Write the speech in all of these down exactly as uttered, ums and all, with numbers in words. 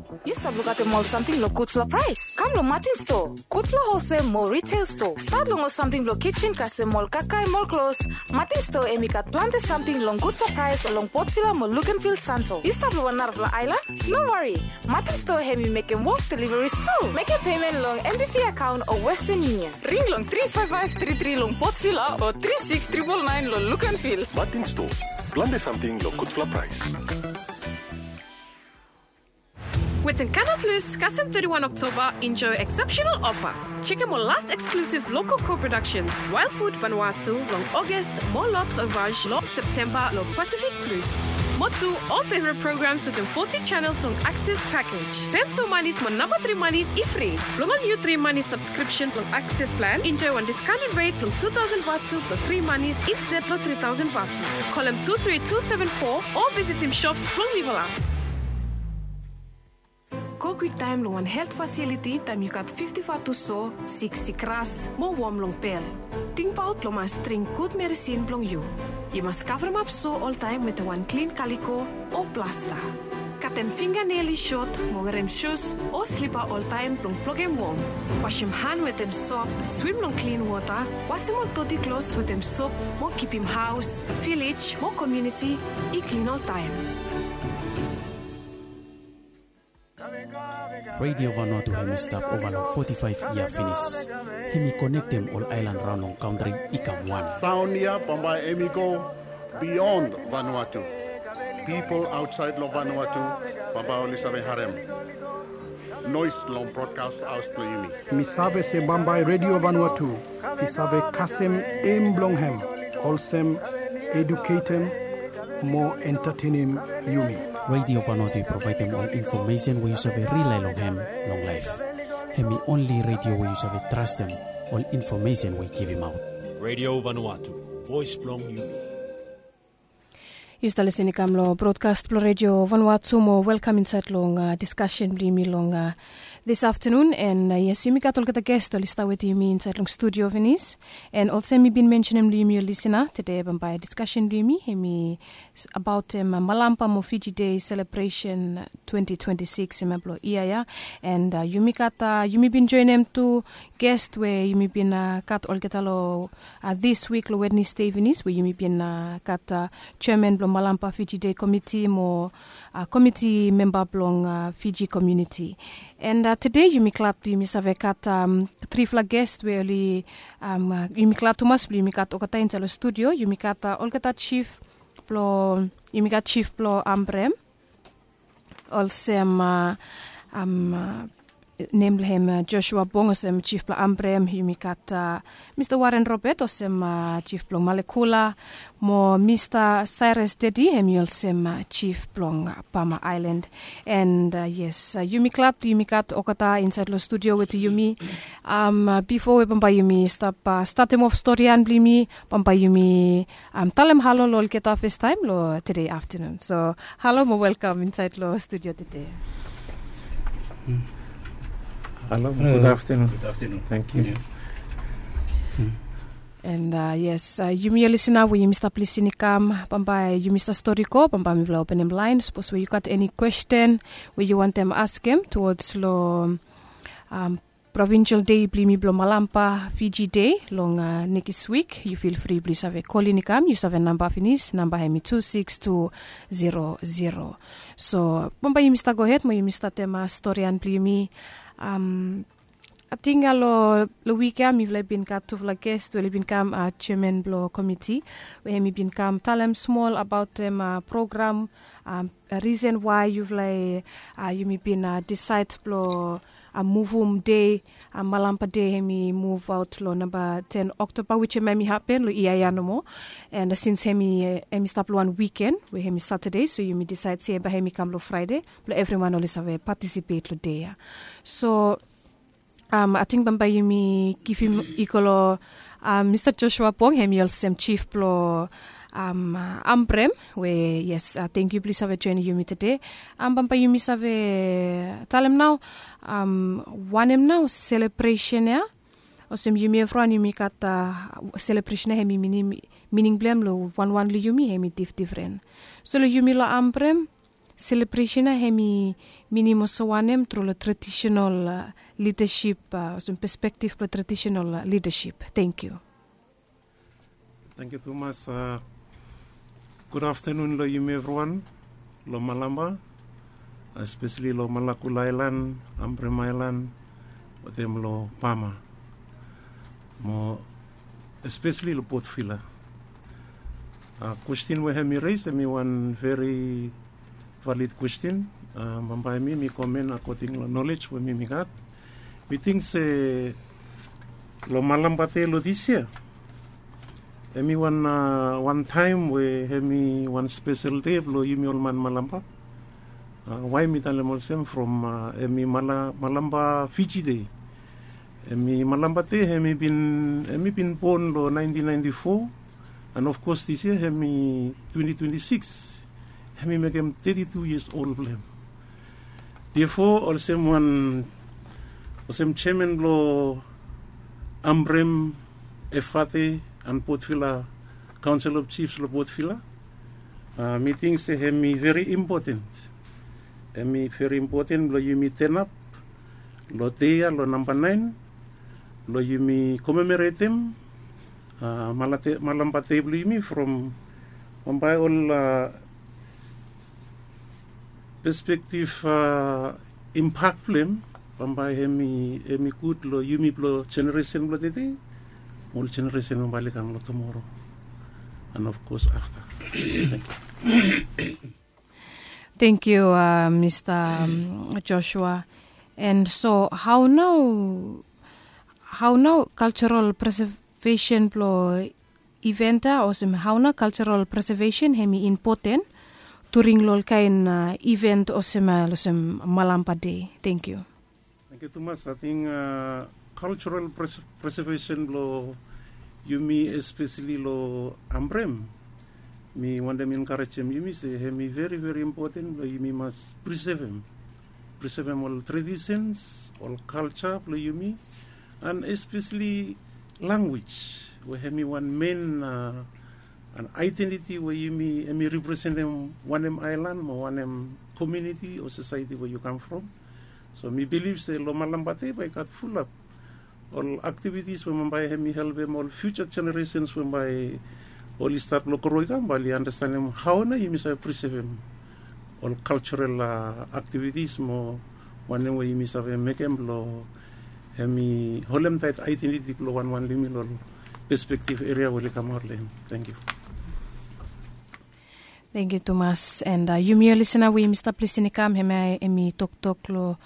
Yu stap lukaotem ol samting long gudfala praes? Kam long Martin Store, gudfala holsel mo retail store. Stat long ol samting blong kitchen kasem ol kakae mo ol klos. Martin Store hemi gat plante samting long gudfala praes long Port Vila mo Luganville, Santo. Yu stap long wan narafala aelan? No wari. Martin Store hemi mekem wok deliveries tu. Mekem pemen long M B V akaon o Western Union. Ring long tri faef faef tri tri long Port Vila o tri siks tripol naen long Luganville. Martin Store, plante samting long gudfala praes. Wetem Canal Plus, kasem teti wan Oktoba, enjoy exceptional offer. Jekem ol last exclusive local co-productions, Wild Food Vanuatu long August mo L'Autre Vache long September long Pacific Plus. Mo tu, ol favorite programs wetem forty channels long Access package. Pem tu manis mo namba tri manis i fri. Blong ol niu tri manis subscription blong Access plan, enjoy wan discounted rate blong two thousand vatu blong tri manis instead blong three thousand vatu. Kolem two three two seven four o visitim shops blong Nivala. Go kwiktaem long wan helt fasiliti taem yu gat fifti vatu so, siksik ras mo wom long bel. Tingbaot blong mas dring gud meresin blong yu. Yu mas kavremap so oltaem wetem wan klin kaliko o plasta. Katem finganel i sot mo werem sus o slipa oltaem blong blokem wom. Wasem han wetem sop, swim long klin wota, wasem ol doti klos wetem sop mo kipim haos, vilej mo komuniti i klin oltaem. Radio Vanuatu hemi stap ova long foti faef yia finis. Hemi konektem ol aelan raon long kantri i kam wan. Saon ya bambae hemi go bion Vanuatu. Pipol aotsaed long Vanuatu bambae oli save harem noes long brodkas haos blong yumi. Mi save se bambae Radio Vanuatu i save kasem em blong hem olsem eduketem mo entatenem yumi. Radio Vanuatu i provaedem ol infomesen we yu save rilae long hem long laef. Hemi onli radio we yu save trastem ol infomesen we i givimaot. Radio Vanuatu, voes blong yumi. Yu stap lisin i kam long brodkas blong Radio Vanuatu mo welkam insaed long diskasen blong yumi long dis aftenun. An yes, yumi gat olgeta ges oli stap wetem yumi insaed long studio finis. An olsem mi bin mensenem long yumi ol lisina, tede bambae diskasen blong yumi hemi abaotem Malampa mo Fiji Day selebresen twenti twenti sikis hemia blong yia ya. An yumi gat, yumi bin joenem tu ges we yumi bin gat olgeta long dis wik long Wednesde finis we yumi bin gat jeaman blong Malampa Fiji Day Komiti mo komiti memba blong Fiji komuniti. An tede yumi glad blong yumi save gat trifala ges we oli, yumi glad tumas blong yumi gat olgeta insaed long studio. Yumi gat olgeta jif blong, yumi gat jif blong Ambrem, olsem nem blong hem Joshua Bong olsem jif blong Ambrem. Yumi gat Mista Warren Robert olsem jif blong Malekula, mo Mista Cyrus Dedi hemi olsem jif blong Bama Aelan. An yes, yumi glad yumi gat olgeta insaed long studio wetem yumi. Bifo we bambae yumi stap statem of storian blong yumi, bambae yumi talem halo long olgeta fastaem long tede aftenun. So halo mo welkam insaed long studio tede. Halo, gud aftenun. Gud aftenun. Tangkiu. An yes, yumi ol lisina we yumi stap lisin i kam, bambae yumi stap stori go, bambae mifala openem laen sapos we yu gat eni kwesten we yu wantem askem tuwods long provinsel dei blong yumi blong Malampa Fiji Dei long nekis wik, yu fil fri blong yu save kolin i kam. Yu save namba finis, namba hemi tu siks tu zero zero. So bambae yumi stap gohed mo yumi statem storian blong yumi. Ating long wik ya mifala i bin gat tufala ges we oli bin kam, jeaman blong komiti, we hemi bin kam talem smol abaotem program, risen wae yufala, yumi bin disaed blong muvum dei, Malampa Dei hemi muvaot long namba ten Oktoba, wisem hemi hapen long yia ya nomo. An sins hemi, hemi stap long wan wiken we hemi Satade, so yumi disaed se bae hemi kam long Fraede blong evriwan oli save patisipet long dei ya. So ating bambae yumi givim i go long Mista Joshua Bong, hemi olsem jif blong Ambrem, we yes, tangkiu blong yu save joenem yumi tede. Bambae yumi save talem nao wanem nao selebresen ya. Olsem yumi evriwan yumi gat selebresen ya, hemi mining, mining blong hem long wanwan long yumi hemi difdifren. So long yumi long Ambrem, selebresen ya hem i minim olsem wanem tru long tradisional lidasip, olsem perspektif blong tradisional lidasip? Tengkiu. Tengkiu tumas. Gud aftanun long yumi evriwan long malamba, espeseli long malakul aelan, ambrem aelan, wetem long pama, mo espeseli long potvila. Kwestin we hem i res hem i wan veri valid kwestin. Bambae mi mi komen akoding long nolej we mi mi gat. Mi ting se long malamba de long dis yia hem i wan wan taem we hem i wan spesel de blong yumi ol man malamba. Wae mi talem olsem from hem i malamba fiji de. Hem i malamba de hem i bin bon long naentin naenti fo. And of kos dis yia hem i twenti twenti sikis, hem i mekem teti tu yias ol blong hem. Diafo olsem wan olsem jeaman blong ambrem efate and potvila kaonsel of jifs long potvila, mi ting se hem i veri impoten. Hem i veri impoten blong yumi tenap long dei ya long namba naen blong yumi komemoretem malamba dei blong yumi from bambae ol pespektif impak blong hem. Bambae hem i gud long yumi blong jeneresen blong tete mo ol jeneresen bambae oli kam long tumoro and of kos afta. Tengkiu. Mista joshua. And so hao nao hao nao kaltural presevesen blong iven ya olsem hao nao kaltural presevesen hem i impoten during long olkaen iven olsem olsem malamba de? Tengkiu. Tengkiu tumas. Ating kaltural presevesen blong yumi espeseli long ambrem, mi wantem enkarejem yumi se hem i veri veri impoten blong yumi mas prisevem prisevem ol tradisens ol kalja blong yumi. And espeseli langwis we hem i wan men an aedentiti we yumi hem i representem wanem aelan mo wanem komiuniti o sosaeti we yu kam from. So mi bilif se long malamba de bae i gat fulap ol aktivitis we bambae hem i helpem ol fiuja jeneresens we bae oli stat long gro i kam bae oli anastenem hao nao yumi save prisevem ol kaltural aktivitis mo wanem we yumi save mekem blong hem i holemtaet aedentiti blong wanwan blong yumi long ol pespektif eria we oli kamaot long hem. Tengkiu. Tengkiu tumas. And yumi ol lisena we yumi stap lisin i kam hemia hem i toktok long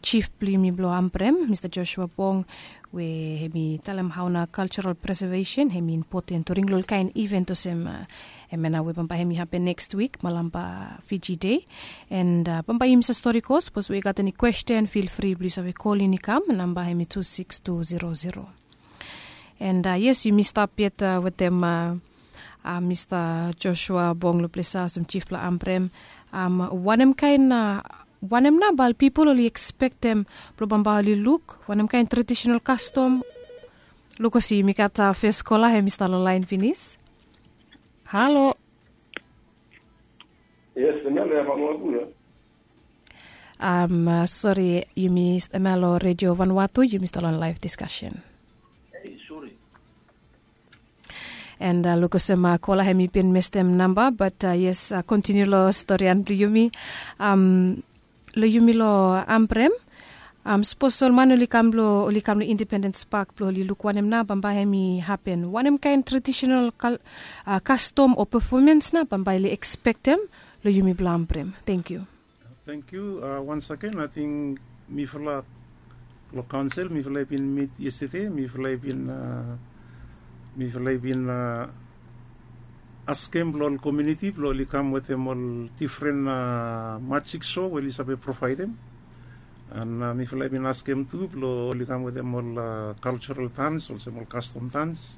jif blong yumi blong ambrem mista joshua bong, we hem i talem hao nao kaltural presevesen hem i impoten during long olkaen iven olsem hemia nao we bambae hem i hapen nekst wik malamba fiji de. And bambae yumi save stori go sapos we i gat eni kwesten fil fri blong yu save kolin i kam namba hem i tu siks tu zero zero. And yes yumi stap yet wetem mista joshua bong long ples ya olsem jif blong ambrem. Wanem kaen wanem nao bae ol pipol oli ekspektem blong bambae oli luk wanem kaen tradisinal kastom? Luk olsem yumi gat fes kola hem i stap long laen finis. Halo. Yes, hemia long ya. Sori, yumi hemia long redio vanua tu yumi stap long laef diskasen. And luk olsem kola hem i bin mestem namba bat yes kontiniu long storian blong yumi. Long yumi long ambrem, sapos ol man oli kam long oli kam long indipendens pak blong oli luk wanem nao bambae hem i hapen wanem kaen tradisinal kastom o pefomens nao bambae oli ekspektem long yumi blong ambrem? Tengkiu. Tengkiu. Wansagen ating mifala long kaonsel mifala i bin mit yestede mifala i bin mifala i bin askem blong ol komiuniti blong oli kam wetem ol difren majik so we oli save provaedem. An mifala i bin askem tu blong oli kam wetem ol kaltural dans olsem ol kastom dans.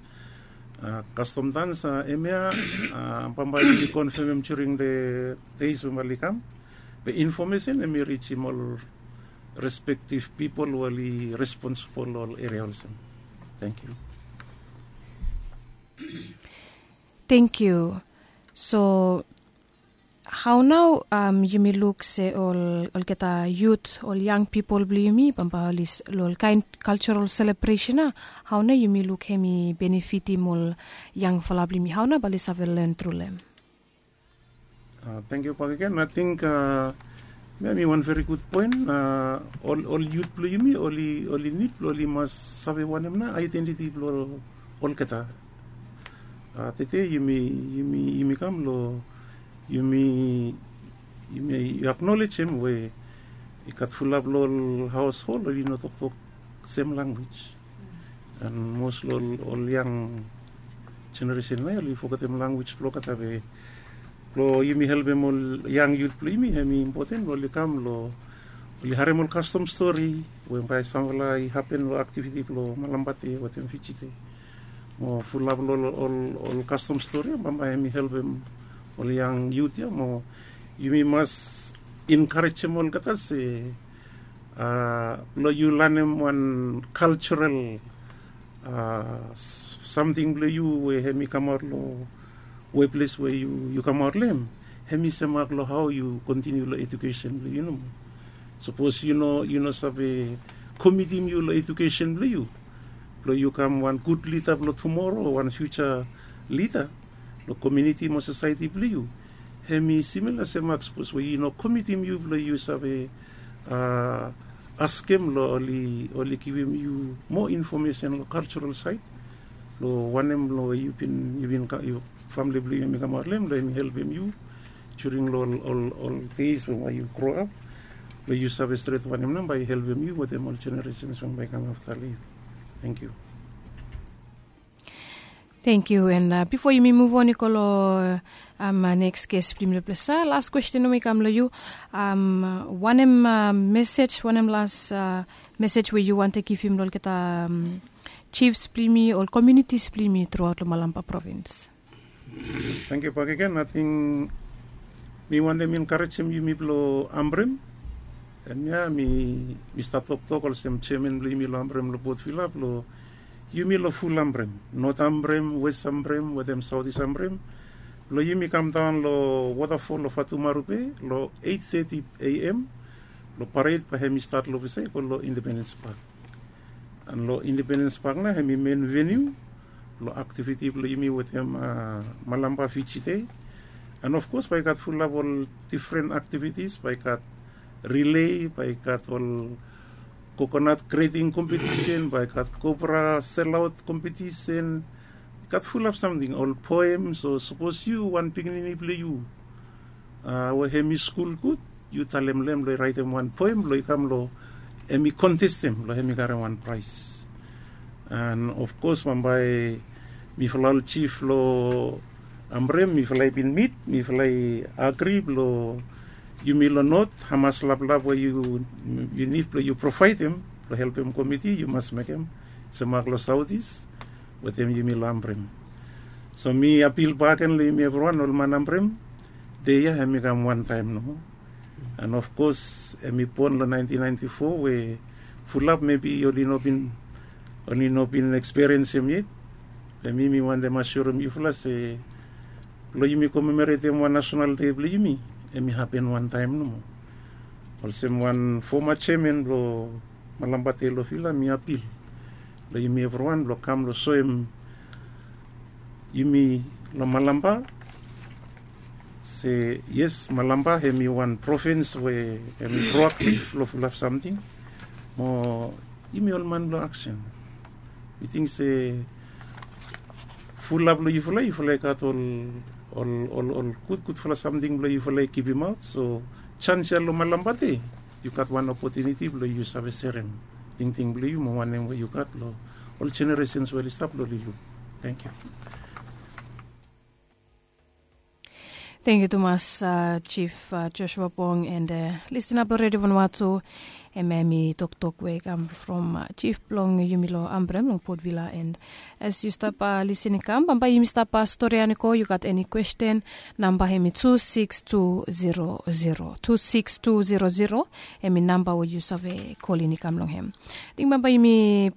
Kastom dans hemia bambae oli konfemem during de deis we bambae oli kam. Be infomesen hem i rijim ol respektif pipol we oli responsibol long ol eria olsem. Tengkiu. Tengkiu. So Hau nau yumi luk se ol olgeta yut, ol yang pipol blong yumi bambae oli long ol kaen kaltsaral selebresen ya? Hau nau yumi luk hem i benefitim ol yangfala blong yumi? Hau nau bae oli save len tru long hem? Tengkiu bakegen, ating mi wan veri gud poen. Ol yut blong yumi oli nid blong oli mas save wanem nau aedentiti blong olgeta. Tete yumi kam long yumi aknolejem we i gat fulap long ol haoshol oli no toktok sem lanwis. An mos long ol yang jeneresen nao oli fogetem lanwis blong olgeta be blong yumi helpem ol yang yut blong yumi hem i impoten blong oli kam long oli harem ol kastom stori we bae samfala i hapen long aktiviti blong malambate wetem fijite. Mo fulap long ol kastom stori ya bambae hem i helpem ol yang yut ya mo yumi mas enkarejem olgeta se blong yu lanem wan kaltsaral samting blong yu we hem i kamaot long weples we yu kamaot long hem, hem i semak long hao yu kontiniu long edukesen blong yu nomo. Sapos yu no save komitim yu long edukesen blong yu blong yu kam wan gud lida blong tumoro o wan fiuja lida long komiuniti mo sosaeti blong yu, hem i simila semak sapos we yu no komitim yu blong yu save askem long oli givim yu moa infomesen long kaltsaral saed long wanem long we yu bin yu bin famili blong yu hem i kamaot long hem long hem i helpem yu during long ol deis we bae yu groap long yu save stret wanem nao bae i helpem yu wetem ol jeneresens we bae i kam afta long yu. Tengkiu. Tengkiu. An bifo yumi muv on i go long neks ges blong yumi long ples ya, las kwesten nomo i kam long yu. Wanem mesej wanem las mesej we yu wantem givim long olgeta jifs blong yumi ol komiunitis blong yumi truaot long malamba provins? Tengkiu bakegen. Ating mi wantem enkarejem yumi blong ambrem. Hemia mi stap toktok olsem jeaman blong yumi long ambrem long potvila blong yumi long ful ambrem, not ambrem, wes ambrem wetem saotis ambrem blong yumi kamdaon long wotafol long fatumaru be long eit teti a m. Long paret bae hem i stat long ofisa i go long independens pak. An long independens pak nao hem i men veniu long aktiviti blong yumi wetem malamba fiji dei. An ofkos bae i gat fulap ol difren aktivitis bae i gat rilei bae i gat ol kokonat greting kompetisen bae i gat kobra selaot kompetisen. I gat fulap samting ol poem so sapos yu wan pikinini blong yu we hem i skul gud yu talem long hem blong i raetem wan poem blong i kam long hem i kontestem blong hem i karem wan praes. An ofkos bambae mifala ol jif long ambrem mifala i bin mit mifala i agri blong yumi long not hamas laplap we yu nid blong yu provaedem blong helpem komiti yu mas mekem semak long saotis wetem yumi long ambrem. So mi apil baken long yumi evriwan ol man ambrem dei ya hem i kam wantaem nomo. An ofkos hem i bon long naentin naenti fo we fulap mebi oli no bin oli no bin ekspiriensem yet. Be mi mi wantem asurem yufala se blong yumi komemoretem wan nasonal dei blong yumi hem i hapen wantaem nomo. Olsem wan foma jeaman blong malamba dei long fila mi apil long yumi evriwan blong kam long soem yumi long malamba se yes malamba hem i wan provins we hem i proaktiv long fulap samting. Mo yumi ol man blong aksen mi ting se fulap long yufala yufala i gat ol ol ol gudgudfala samting blong yufala i givimaot so jans ya long malamba dei yu gat wan opotuniti blong yu save serem tingting blong yu mo wanem we yu gat long ol jeneresens we oli stap long oli luk. Tengkiu. Tengkiu tumas jif joshua bong and listina blong redio vanua tu. Em em i toktok we i kam from jif blong yumi long ambrem long potvila and as yu stap lisin i kam bambae yumi stap storian i go yu gat eni kwesten. Namba hem i tu siks tu zero zero tu siks tu zero zero. Hem i namba we yu save kolin i kam long hem. Ting bambae yumi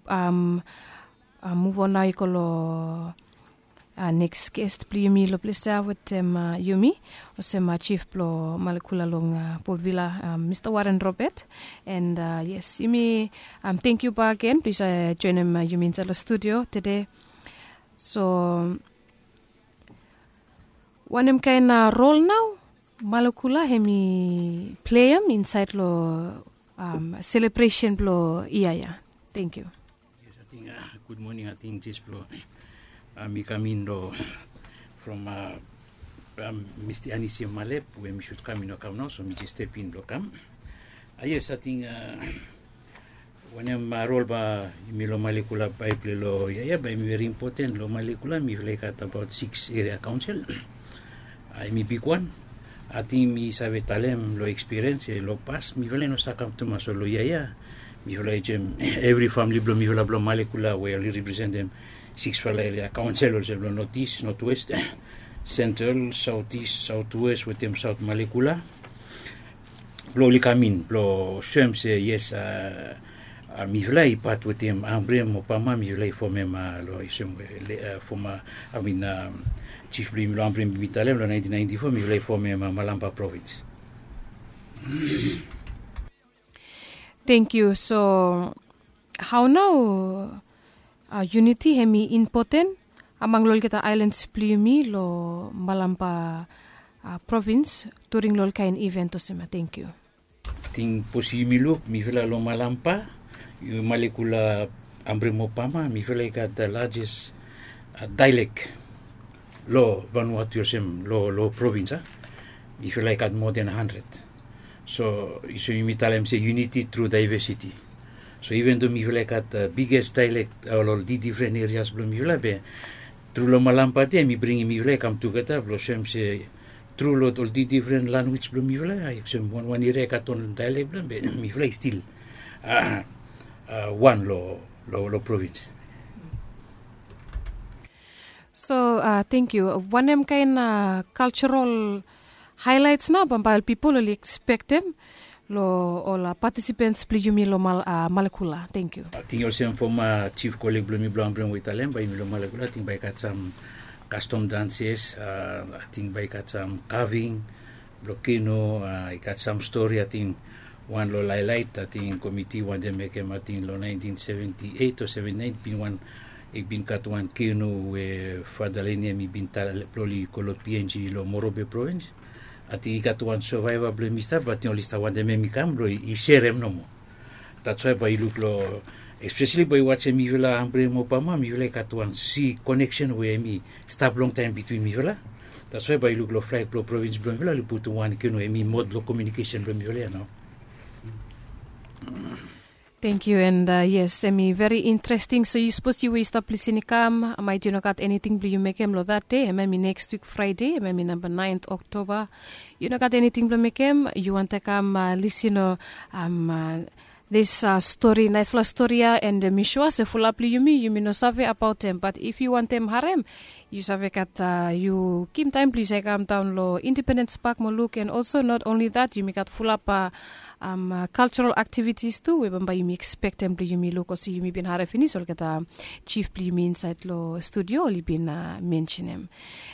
muv on nao i go long Neks gest blong yumi long ples ya wetem yumi olsem chief blong Malekula long Port Vila, Mista Warren Robert. And yes, yumi tangkiu bak gen blong yu save joinim yumi insaed long studio tede. So wanem kaen rol nao Malekula hem i pleim insaed long selebresen blong yia ya? Tangkiu. Yes, ating gud moning, ating jes blong mi kam in long from Mista Anisi Malep we mi sud kam i no kam nao, so mi jes step in blong kam. Yes, ating wanem rol blong yumi long Malekula bae i plei long yia ya, bae hem i veri impoten. Long Malekula mifala i gat abaot sikis eria kaonsel. Hem i bigwan. Ating mi save talem long ekspiriens se long pas mifala i no stap kam tumas, so long yia ya mifala i join evri famili blong mifala blong Malekula we oli representem siksfala eria kaonsel olsem long Notis, Notwes, Sentral, Saotis, Saotwes wetem Saot Malekula blong oli kam in blong soem se yes, mifala i pat wetem Ambrem o Pama, mifala i fomem long olsem we foma, I mean, jif blong yumi long Ambrem, mi talem long naentin naenti fo mifala i fomem Malampa provins. Tangkiu. So hao nao yuniti hem i impoten among long olgeta aelans blong yumi long Malampa provins during long ol kaen iven olsem ya? Tangkiu. Ating sapos yumi luk mifala long Malampa, Malekula, Ambrem o Pama, mifala i gat lajes daelek long Vanuatu olsem long provins a. Mifala i gat moa den handred. So yumi talem se yuniti tru daevesiti. So iven do mifala i gat biges daelek ol difren erias blong mifala, be tru long Malampa de hem i bringim mifala i kam tugeta blong soem se tru long ol difren lanwis blong mifala, olsem wanwan eria i gat on daelek blong hem, be mifala i stil wan long provins. So tangkiu. Wanem kaen kalserol haelaets nao bambae ol pipol oli ekspektem long ol patisipens blong yumi long Malekula? Tangkiu. Ating olsem foma jif koleg blong mi blong Ambrem we i talem, bae yumi long Malekula ating bae i gat sam kastom danses, ating bae i gat sam kaving blong kenu, i gat sam stori, ating wan long laelaet, ating komiti wantem mekem, ating long naentin seventi eit o seventi naen bin wan, i bin gat wan kenu we Fada Leni hem i bin talem blong oli go long PNG long Morobe provins. Ating i gat wan sovaeva blong hem i stap, ating oli stap wantem hem i kam blong i serem nomo. That's why bae yu luk long, espeseli bae yu wajem mifala Ambrem o Pama, mifala i gat wan si koneksen we hem i stap longtaem bitwin mifala. That's why bae yu luk long flag blong provins blong mifala oli putum wan kenu, hem i mod blong komiunikesen blong mifala ya nao. Tangkiu. And yes, hem i veri interesting. So yu sapos yu we yu stap lisin i kam, maet yu no gat eniting blong yu mekem long that de, hemia hem i neks wik Fraede, hemia hem i namba naen Oktoba. Yu no gat eniting blong mekem, yu wantem kam lisin long this stori, naesfala stori ya, and mi sua se fulap long yumi, yumi no save abaot hem. Bat if yu wantem harem, yu save gat, yu givim taem blong yu save kam daon long Independens Pak mo luk. And also not only that, yumi gat fulap kalserol aktivitis tu we bambae yumi ekspektem blong yumi luk, olsem yumi bin harem finis olgeta jif blong yumi insaed long studio oli bin mensenem.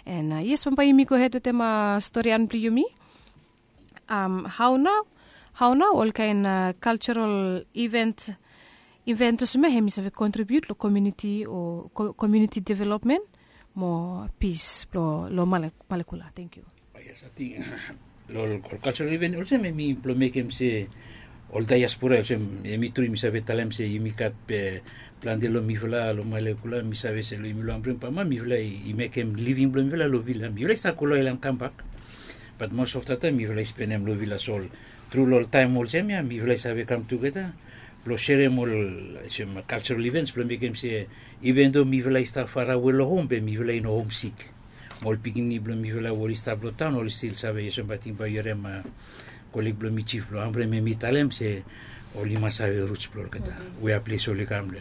And yes, bambae yumi gohed wetem storian blong yumi. Hao nao, hao nao olkaen kalserol iven, iven olsem ya hem i save kontribiut long komiuniti o komiuniti developmen mo pis blong long Malekula? Tangkiu. Yes, ating long ol kalserol iven olsem hem i blong mekem se ol diaspora olsem, hem i tru yumi save talem se yumi gat plante long mifala long Malekula, mi save se long yumi long Ambrem o Pama mifala i mekem living blong mifala long vila. Mifala i stap go long aelan kambak, bat most of the time mifala i spenem long vila. So tru long ol taem olsem ya mifala i save kam tugeta blong serem ol olsem kalserol ivens blong mekem se iven do mifala i stap farawe long hom be mifala i no homsik. Mo ol pikinini blong mifala we oli stap long taon oli stil save, olsem ating bae yu harem koleg blong mi jif blong Ambrem hem i talem se oli mas save ruts blong olgeta, wea ples oli kam.